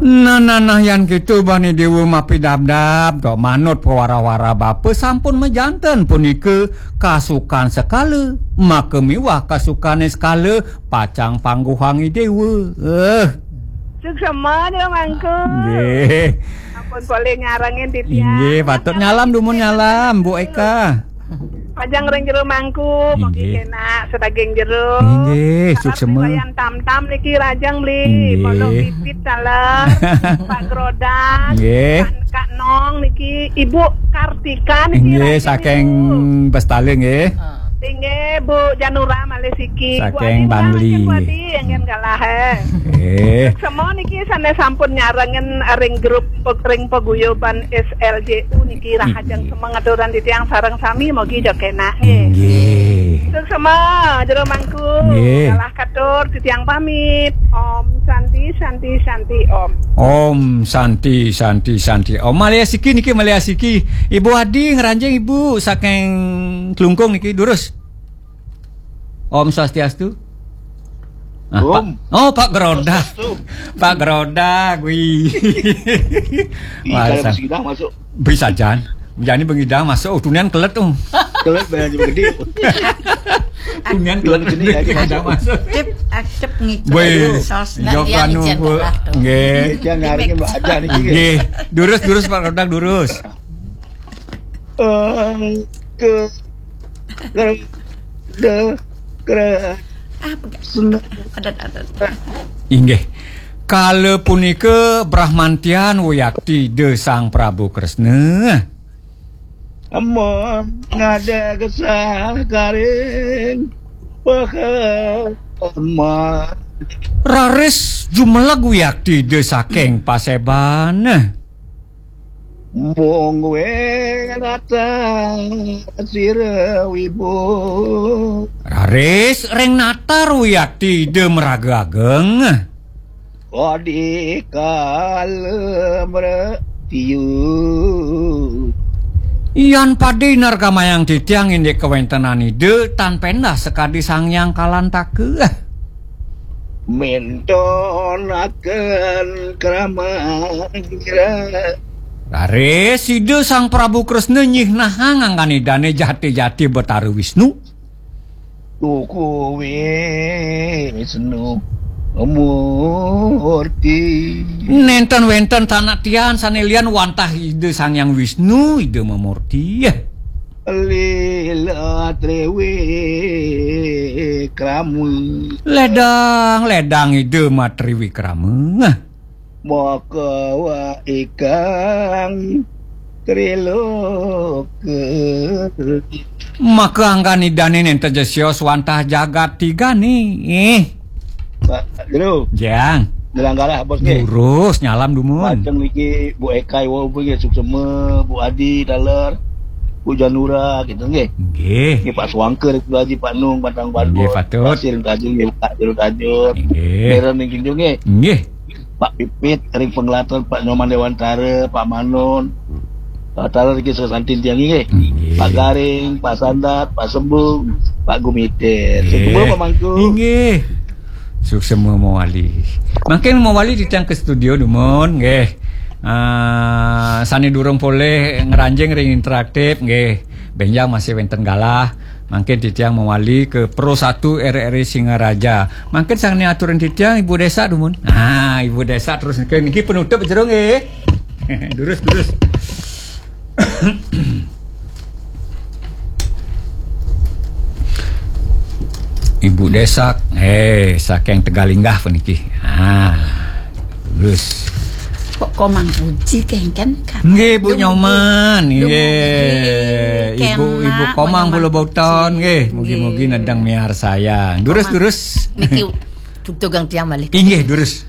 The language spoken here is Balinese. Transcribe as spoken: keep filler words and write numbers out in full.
Nah, nah, nah, yan kitu bani dewa mapidabdab, tok manut pawara-wara bapa sampun majanten punika kasukan sekala, maka miwah kasukane sekala pacang pangguhang i dewa. Eh. Suksema dia mangku. Nggih. Ampun boleh ngarengin titiang. Inggih, patut nyalam dumun nyalam, Bu Eka. Pacang ring jero mangku, mugi Inggih. Kenak sedaging jero. Inggih, Sarap suksema. Riwayan tam-tam niki rajang beli. Inggih. Pondok Pipit taler, Pak Grodas, Nggih. Pak Kak Nong niki, Ibu Kartika niki Inggih, rajang saking niku. Bestale nggih. Inggih, Bu Janura malih siki. Bu Saking Adi Bangli. Murah, Bu Adi, yang kan kalah, eh. Eh. Semua niki sana sampun nyarengin ring grup pe-, ring paguyuban S L J U niki rahajeng Inggih. Semengaturan titiang sareng sami mogi jo kenak nggih. Inggih. Suksema jero mangku. Nggih. Kalah katur titiang pamit. Om Santi, Santi, Santi, Om. Om Santi, Santi, Santi, Om. Malih siki niki, malih siki. Ibu Adi ngranjing Ibu saking Klungkung niki, durus. Om Swastiastu. Ah, Pak. Om. Oh, Pak Groda. Swastiastu. Pak Groda, wi. Ih, Wah, kalau sa- Besi Gidang masuk. Bisa jan. Jani Besi Gidang masuk, oh, tunian kelet tuh. Kelet bayar juga gede. Tunian kelet Bilang gede, gede, ya, Besi Gidang masuk. Masuk. Cep, ah, cep ngikut. Woi, sos, nah, jok dia anu, ngicen Bu. Telah tuh. Nggih. Dia nyariin Mbak Aja nih, gitu. Nggih. Durus, durus, Pak Groda, durus. Eh, ke, ke, de, kre, Ah, pegat. Sunda. Adat, adat. Inggih. Kala punika Brahmantian wiyakti Ida Sang Prabu Kresna. Amun ngada gesah karing, pehe, eman. Raris jumeleg wiyakti Ida saking paseban. Mungguing natar sira wibu. Raris ring natar wiyakti Ida maraga ageng. Kodi kala mretiu. Yan padi nargamayang titiang indik kawentenan Ida tan pendah sakadi Sang Hyang Kalantaka. Mentonaken krama ira. Raris Ida Sang Prabu Kresna nyihnahang anggan Idane jati-jati Betara Wisnu. Tuku Wisnu Murti. Nenten wenten tanaktian sane lian wantah Ida Sang Hyang Wisnu, Ida Mamurti. Lila Triwikrama. Ledang, ledang Ida Matriwikrama. Maka wa ikang triloka. Maka anggan Idane nenten ja sios wantah jagat tigane. Eh. Pak Jero. Jang. Nyelang galah, Bos, nggih. Lurus, nyalam dumun. Majeng niki Bu Eka Iwa Upi nggih, suksema, Bu Adi taler, Bu Janura gitu nggih. Nggih. Nggih, Pak Suangker, Bu Haji, Pak Nung, Batang Nggih, Bandut, patut. Pasir Tajur nggih, Pak Jero Tajur. Nggih. Meren ning Kinjung nggih. Nggih. Pak Pipit, ring Pengelaton, Pak Nyoman Dewantara, Pak Manon. Pak Taler niki sesantin tiang nggih. Nggih. Pak Garing, Pak Sandat, Pak Sembung, Pak Gumite. Nggih. Sembung, Pak Mangku. Nggih. Suksema mawali. Mangkin mawali titiang ka studio dumun nggih. Ah, sane durung polih ngranjing ring interaktif nggih. Benjang masih wenten galah. Mangkin titiang mawali ka Pro Satu R R I Singaraja. Mangkin sane aturin titiang Ibu Desa dumun. Ah, Ibu Desa terus niki, niki penutup jero nggih. Durus, durus. Ibu Desak, eh, saking Tegalinggah puniki. Ah, durus. Kok Komang Puji kengken kan? Nggih, Bu Nyoman, nggih. Ibu, Ibu Komang Pulau Bautan, nggih. Mugi-mugi nedeng miarsayang. Durus, durus. Niki tugang tiang malih. Inggih, durus.